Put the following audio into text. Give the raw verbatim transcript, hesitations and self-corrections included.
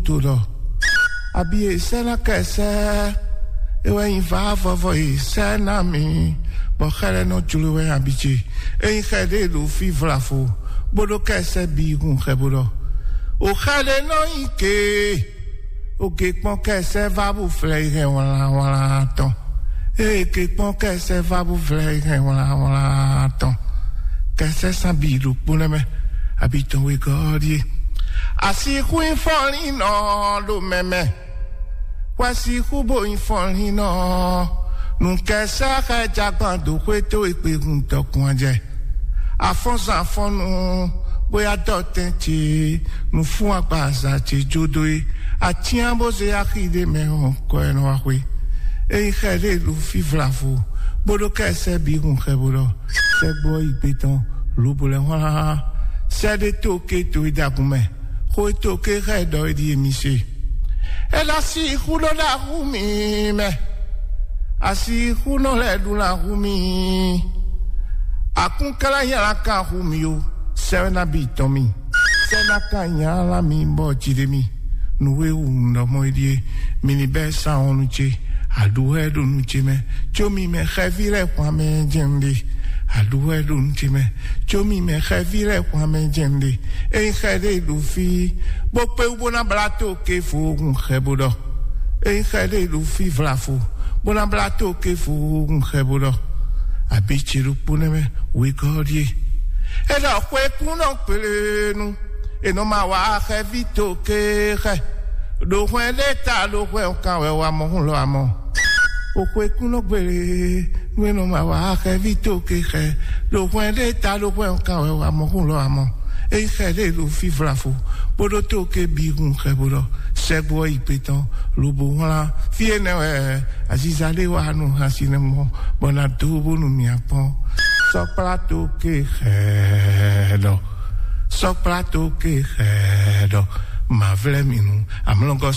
to ɖɔ, abi e sɛ́ ná kɛ sɛ́, é wɛ nyí vǎ vɔvɔ e sɛ́ ná mì, bɔ xɛ lɛ́ɛ nɔ jló wɛ abi ce. É nyí xɛ ɖé ɖo fí vlafo, bó ɖó kɛ sɛ́ bǐ hun xɛ bó ɖɔ, o xɛ ɖé nɔ nyí ke, o ge kpɔ́n kɛ sɛ́ vá bó flɛ yi hɛn wlánwlán tɔn. Ée ke kpɔ́n kɛ sɛ́ vá bó flɛ yi hɛn wlánwlán tɔn. Kɛ sɛ́ sán bǐ ɖokpó nɛ́ mɛ, abi tɔn wegɔ́ ɔ́ ɖíe. Asixú nyí fɔnlínnɔ ɖo mɛ mɛ, wɛ sixú bo nyí fɔnlínnɔ. Nǔkɛsɛ́ xɛ jagban dó xwé towe kpehun dɔkun ajɛ. Afɔ́nzan afɔ́nnu bóyá dɔtɛn ce nǔ fún agbaza ce jó dó é. Atyán bó zé axi ɖé mɛ ɔ́, kɔ ɛ nɔ wá xwé. Ényí xɛ ɖé ɖo fí vlavo, bó ɖó ká ɛ sɛ́ bǐ hun xɛ bó ɖɔ, sɛ́gbó ɔ́ yi gbe tɔn, lobo lɛ́ hwlán. Sɛ́ ɖé tó ké to e ɖagun mɛ, xó e tó ké xá ɛ ɖɔ é ɖíe mi se. É ná sixú nɔ ɖo axú mì mɛ. Asixú nɔ lɛ́ ɖu ná hu mì. Akúnklá nyala kan hu mì o. Sɛ́ ná bǐ tɔn mì. Sɛ́ ná kan nyala mì bɔ jǐ ɖe mì. Nǔ e wú un ɖɔ mɔ é ɖíe. Mi ní bɛ́ sa wɔn nú ce. Aɖǔ wɛ ɖo nú ce mɛ. Có mi mɛ xɛví lɛ́ɛ xwan mɛ jɛ́n un ɖe. Aɖǔ wɛ ɖo nú ce mɛ. Có mi mɛ xɛví lɛ́ɛ xwan mɛ jɛ́n un ɖe. Ényí xɛ ɖé ɖo fí, bó kpé wú bó ná blá tó ké fo hun xɛ bó ɖɔ. Ényí xɛ ɖé ɖo fí vlafo, bó ná blá tó ké fo hun xɛ bó ɖɔ. Abǐ ce ɖokpó nɛ́ mɛ wegɔ́ ɔ́ ɖíe. É ɖɔ xwekúnɔ kplénu, è nɔ ma wa xɛví tó ké xɛ. Ɖo hwɛn ɖé ta ɖo hwɛn kan wɛ wa mɔ hun lɔ amɔ. O xwekúnɔ gbére, nú è nɔ ma wa xɛví tó ké xɛ. Ɖo hwɛn ɖé ta ɖo hwɛn kan wɛ wa mɔ hun lɔ amɔ. Ényí xɛ ɖé ɖo fí vlafo, bó ɖó tó ké bǐ hun xɛ bó ɖɔ, sɛgbó ɔ́ yi gbe tɔn, lobo wlán. Fí énɛ́ wɛ aziza ɖé wa nú hasi nɛ mɔ, bɔ ná dó bónú mì akpɔ́n. Sɔkplá tó ké xɛ ɖɔ. Sɔkplá tó ké xɛ ɖɔ. Mavlɛ́ mi nu, amlɔgɔ́